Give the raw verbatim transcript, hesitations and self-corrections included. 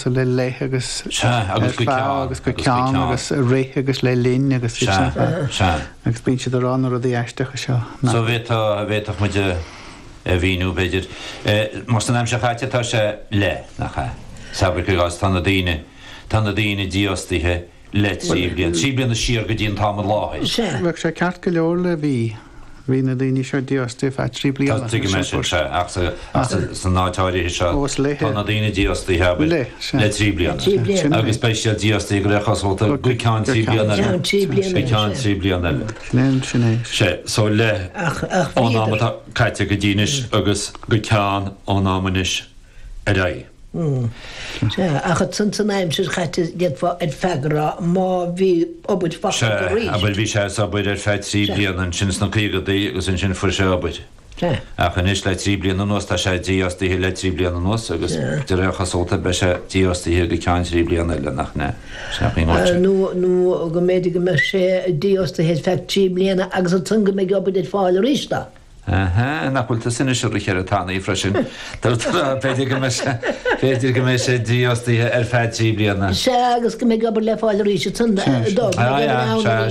le le agus Sea, agus go ar feadh ceann, agus go agus go ceann ceann. agus rith agus le linn agus Sea, sea. agus bíonn siad ag rá na rudaí aisteacha seo. So bhféadfá bhféadfadh muid a a mhíniú b'fhéidir. Mar san aimsir chaite tá sé le nach ea. Sabre go gás tá na daoine tá na daoine dífhostaithe le trí bliana. Trí bliana siar go dtí an t-am i láthair. Sea. Bheadh sé ceart go leor le bhí bhí na daoine seo dífhostaithe feadh trí bliana. Tá mé sin se ach sa- ach sa- san áit áirithe seo Ó, is le- tá na daoine dífhostaithe abair, Le, sea. le trí bliana. Trí bliana. Sin é. Agus beidh siad dífhostaithe go le cosúlta go ceann trí bliana eile. Ceann trí bliana Go ceann eile, trí bliana eile. Sin é sin é. Sé so le Ach ach ón am bhíodar. atá caite go dtí anois agus go ceann ón am anois ar aghaidh. Sea, ach san san aimsir chaite d'fhéadfá ar feadh a rá má bhí obair Se faighte arís. abair bhí sé ag obair ar feadh trí Sea. bliana ansin sna caogadaí agus ansin fuair sé obair. Sea. Ach anois le trí bliana anuas tá sé dífhostaithe le trí bliana anuas agus Sea. de réir chosúlachta beidh sé dífhostaithe go ceann trí bliana eile nach ne. Uh, nó nó go mb'fhéidir go mbeidh sé dífhostaithe ar feadh trí bliana agus ansan go mbeidh obair ar fáil arís dó. Aha, nach bhfuil sinna se cheir tanaí freisin. B'fhéidir go b'fhéidir go mbeidh sé dífhostaithe ar feadh trí bliana. Sea agus go mbeidh obair le fáil arís ansan dó. Ah, ja, sea,